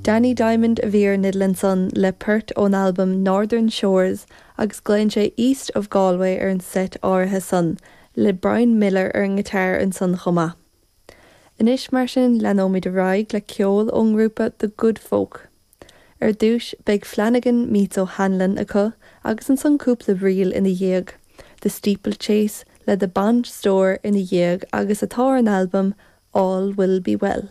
Danny Diamond a bhí ar an fhidil ansan le port ón albam Northern Shores agus glaonn sé East of Galway ar an seit áirithe san, le Brian Miller ar an ngiotár ansan chomh maith. Anois mar sin leanóimid ar aghaidh le ceol ón ngrúpa The Good Folk. Ar dtúis beidh Flanagan Meets O'Hanlon acu agus ansan cúpla ríl ina dhiaidh, The Steeplechase le The Bond Store ina dhiaidh agus atá ar an albam All Will Be Well.